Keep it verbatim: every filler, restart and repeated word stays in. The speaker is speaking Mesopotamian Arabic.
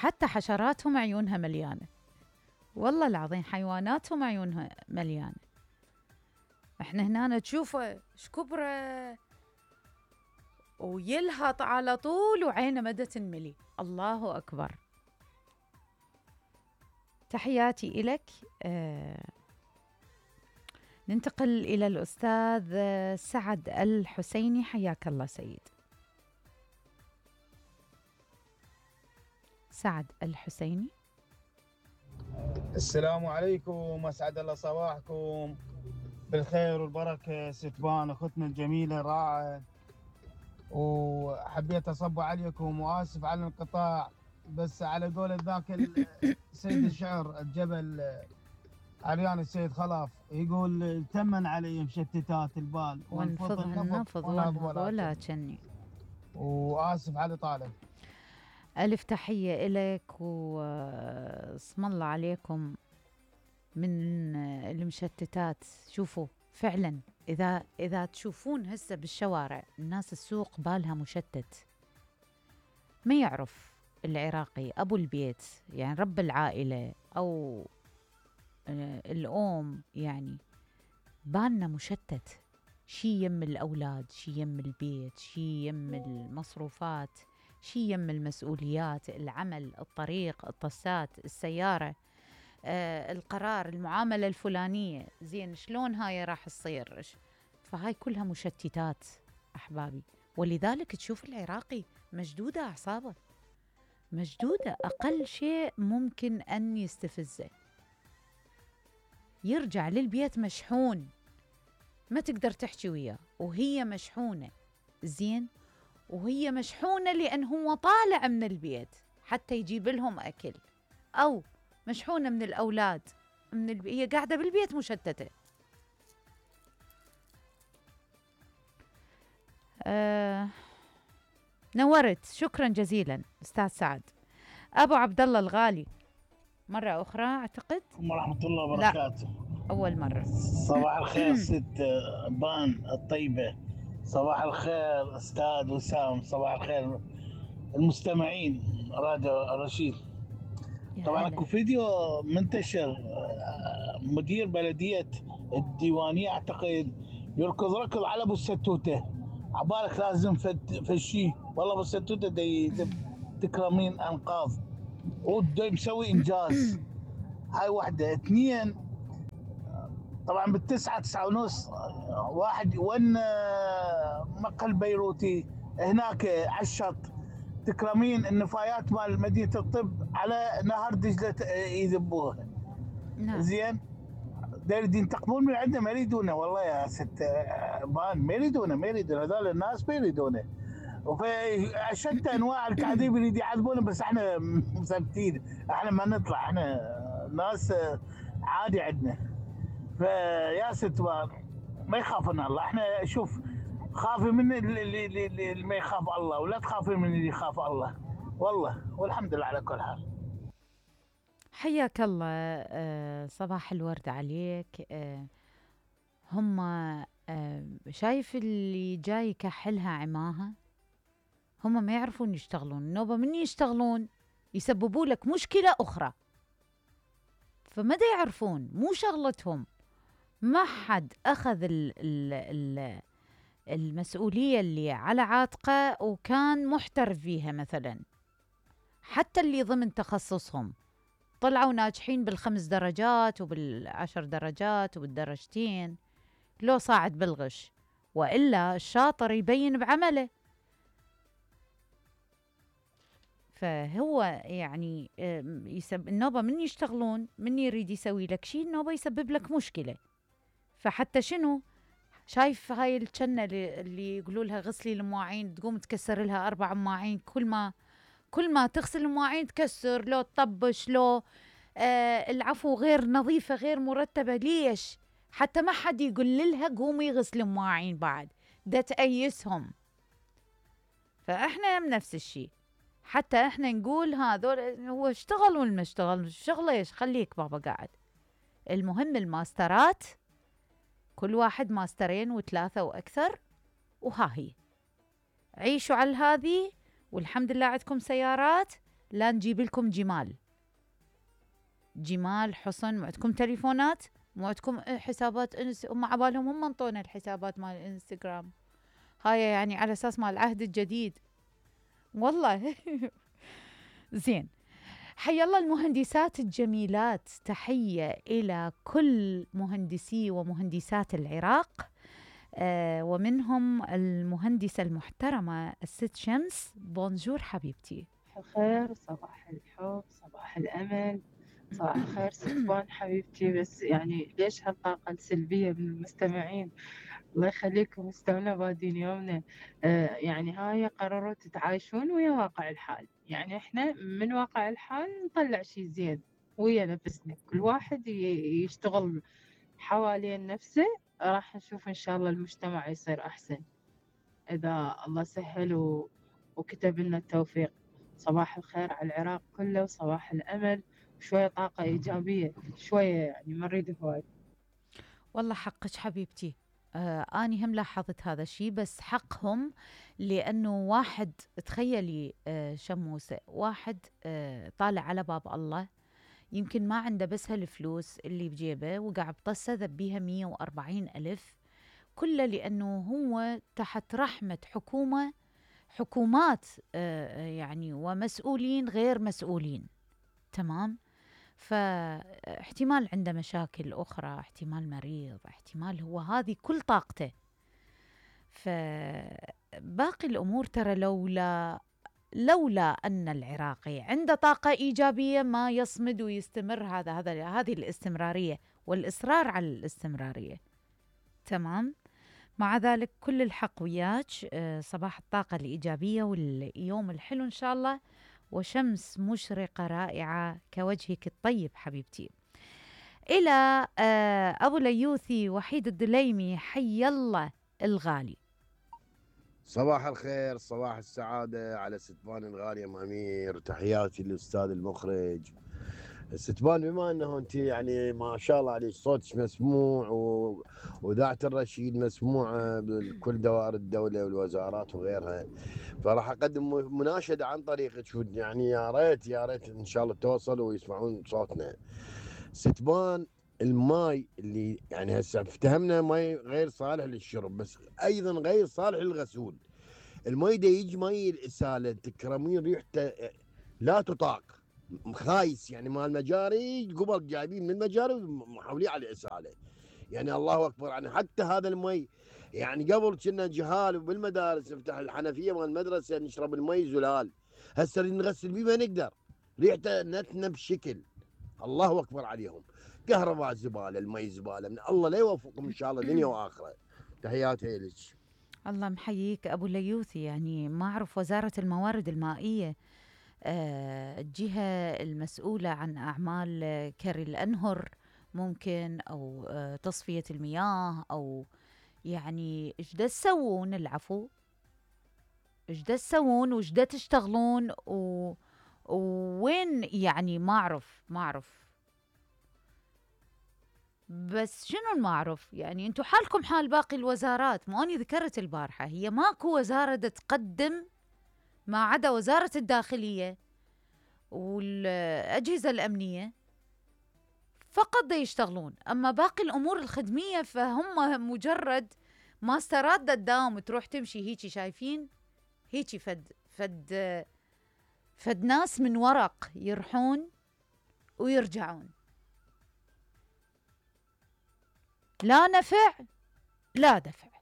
حتى حشراتهم عيونها مليانة، والله العظيم حيواناتهم عيونها مليانة. احنا هنا تشوفه شكبره ويلهط على طول وعينه مدى تنملي. الله أكبر. تحياتي إلك. آه ننتقل إلى الأستاذ سعد الحسيني. حياك الله سيد سعد الحسيني. السلام عليكم، أسعد الله صباحكم بالخير والبركة. ستبان أختنا الجميلة راعة، وحبيت أصب عليكم وآسف على الانقطاع، بس على قول ذاك سيد الشعر الجبل عريان السيد خلف يقول تمن علي مشتتات البال وانفضها النفض ونهض ولا تشني. وآسف على طالب. ألف تحية إلك واسم الله عليكم من المشتتات. شوفوا فعلا إذا إذا تشوفون هسه بالشوارع الناس السوق بالها مشتت، ما يعرف العراقي أبو البيت يعني رب العائلة أو الأم يعني بالنا مشتت، شي يم الأولاد، شي يم البيت، شي يم المصروفات، شي يم المسؤوليات، العمل، الطريق، الطسات، السيارة، آه، القرار، المعاملة الفلانية، زين شلون هاي راح تصير. فهاي كلها مشتتات أحبابي. ولذلك تشوف العراقي مشدودة أعصابه، مشدودة، أقل شيء ممكن أن يستفزه، يرجع للبيت مشحون، ما تقدر تحكي وياه وهي مشحونة. زين، وهي مشحونة لأن هو طالع من البيت حتى يجيب لهم أكل، أو مشحونة من الأولاد من الب... هي قاعدة بالبيت مشتتة. آه... نورت، شكرا جزيلا أستاذ سعد. أبو عبد الله الغالي مرة أخرى أعتقد. ورحمة الله وبركاته. أول مرة. صباح الخير ست بان الطيبة، صباح الخير أستاذ وسام، صباح الخير المستمعين راديو رشيد. طبعا اكو فيديو منتشر مدير بلدية الديوانية اعتقد يركض ركض على ابو الستوتة، عبالك لازم فد فشي، والله ابو الستوتة دي تكرمين انقاذ ودا مسوي انجاز. هاي واحدة. اثنين، طبعا بالتسعة تسعة ونص واحد ون مقهى بيروتي هناك على الشط، تكرمين النفايات مال مدينة الطب على نهر دجلة يذبوها. نعم. زين، دايرين ينتقمون من عندنا، ما يريدونه والله يا ست بان، ما يريدونه ما يريدونه هذول الناس ما يريدونه. وفي شتى انواع الكاذبين يريد يعذبونه، بس احنا مثبتين، احنا ما نطلع، احنا ناس عادي عندنا. فيا ست بان ما يخافنا الله، احنا شوف خافي من اللي, اللي, اللي ما يخاف الله، ولا تخافي من اللي يخاف الله والله، والحمد لله على كل حال. حياك الله. آه صباح الورد عليك. آه هم آه شايف اللي جاي يكحلها عماها، هم ما يعرفون يشتغلون، النوبة من يشتغلون يسببوا لك مشكلة أخرى، فماذا يعرفون، مو شغلتهم. ما حد أخذ ال ال ال المسؤولية اللي على عاتقه وكان محترف فيها. مثلا حتى اللي ضمن تخصصهم طلعوا ناجحين بالخمس درجات وبالعشر درجات وبالدرجتين، لو صاعد بالغش، وإلا الشاطر يبين بعمله. فهو يعني يسب النوبة من يشتغلون، من يريد يسوي لك شيء النوبة يسبب لك مشكلة. فحتى شنو شايف هاي الجنة اللي يقولوا لها غسلي المواعين، تقوم تكسر لها أربع مواعين، كل ما كل ما تغسل المواعين تكسر، لو تطبش، لو آه العفو غير نظيفة غير مرتبة. ليش؟ حتى ما حد يقول لها قومي غسلي مواعين بعد، ده تأيسهم. فإحنا نفس الشيء، حتى إحنا نقول هذول هو اشتغل ولا ما اشتغل، شغله ايش، خليك بابا قاعد. المهم الماسترات كل واحد ماسترين وثلاثة وأكثر، وها هي عيشوا على هذه، والحمد لله عندكم سيارات، لا نجيب لكم جمال جمال حصن. مو عندكم تليفونات، مو عندكم حسابات انس، هم عبالهم هم انطونا الحسابات مال الانستغرام هاي، يعني على اساس مال العهد الجديد والله. زين، حي الله المهندسات الجميلات، تحية إلى كل مهندسي ومهندسات العراق، آه ومنهم المهندسة المحترمة الست شمس. بونجور حبيبتي. صباح الخير، صباح الحب، صباح الأمل، صباح الخير ستبان حبيبتي. بس يعني ليش هالطاقة السلبية من المستمعين؟ الله يخليكم، استونا بادين يومنا. آه يعني هاي قرروا تتعايشون ويا واقع الحال، يعني احنا من واقع الحال نطلع شي زين ويا نفسنا، كل واحد ي- يشتغل حوالين نفسه، راح نشوف ان شاء الله المجتمع يصير احسن اذا الله سهل و... وكتب لنا التوفيق. صباح الخير على العراق كله، وصباح الامل، وشوية طاقة ايجابية، شوية يعني ما نريد هواي. والله حقك حبيبتي، آه أني هم لاحظت هذا الشيء، بس حقهم، لأنه واحد تخيلي آه شموسة، واحد آه طالع على باب الله، يمكن ما عنده بس هالفلوس اللي بجيبه، وقاعد بطسه ذبيها مية وأربعين ألف، كله لأنه هو تحت رحمة حكومة حكومات آه يعني ومسؤولين غير مسؤولين. تمام، فاحتمال عنده مشاكل أخرى، احتمال مريض، احتمال هو هذه كل طاقته. فباقي الأمور ترى لولا لولا أن العراقي عنده طاقة إيجابية ما يصمد ويستمر. هذا هذا هذه الاستمرارية والإصرار على الاستمرارية. تمام، مع ذلك كل الحق وياك. أه صباح الطاقة الإيجابية واليوم الحلو إن شاء الله، وشمس مشرقة رائعة كوجهك الطيب حبيبتي. إلى أه أبو ليوثي وحيد الدليمي، حي الله الغالي. صباح الخير، صباح السعادة على ستبان الغالية ام امير، تحياتي للاستاذ المخرج ستبان. بما انه انت يعني ما شاء الله عليك صوتك مسموع و... وذاعة الرشيد مسموعة بكل دوائر الدولة والوزارات وغيرها، فراح اقدم مناشدة عن طريقك، يعني يا ريت يا ريت ان شاء الله توصلوا ويسمعون صوتنا. ستبان الماي اللي يعني هسه افتهمنا ماي غير صالح للشرب، بس ايضا غير صالح للغسول. الماي ده يجي ماي الاساله تكرمين ريحته لا تطاق، خايس يعني مال المجاري، قبل جايبين من المجاري ومحوليه على الاساله، يعني الله اكبر. يعني حتى هذا المي يعني قبل كنا جهال وبالمدارس نفتح الحنفيه مال المدرسه نشرب المي زلال، هسه نغسل بيه ما نقدر، ريحته نتنه بشكل. الله اكبر عليهم. كهرباء زباله، المي زباله، من الله لا يوفقهم ان شاء الله دنيا واخره. تحياتي لك. الله محييك ابو ليوثي. يعني ما اعرف وزاره الموارد المائيه آه الجهه المسؤوله عن اعمال آه، كري الانهر ممكن، او آه تصفيه المياه، او يعني ايش دا تسوون؟ العفو، ايش دا تسوون وايش دا تشتغلون و... وين يعني؟ ما اعرف ما اعرف بس شنو ما اعرف؟ يعني انتم حالكم حال باقي الوزارات. مو اني ذكرت البارحه هي ماكو وزاره دا تقدم ما عدا وزاره الداخليه والاجهزه الامنيه فقط دا يشتغلون، اما باقي الامور الخدميه فهم مجرد ماسترات دا تداوم تروح تمشي هيجي، شايفين هيجي فد فد فد ناس من ورق يرحون ويرجعون، لا نفع لا دفع.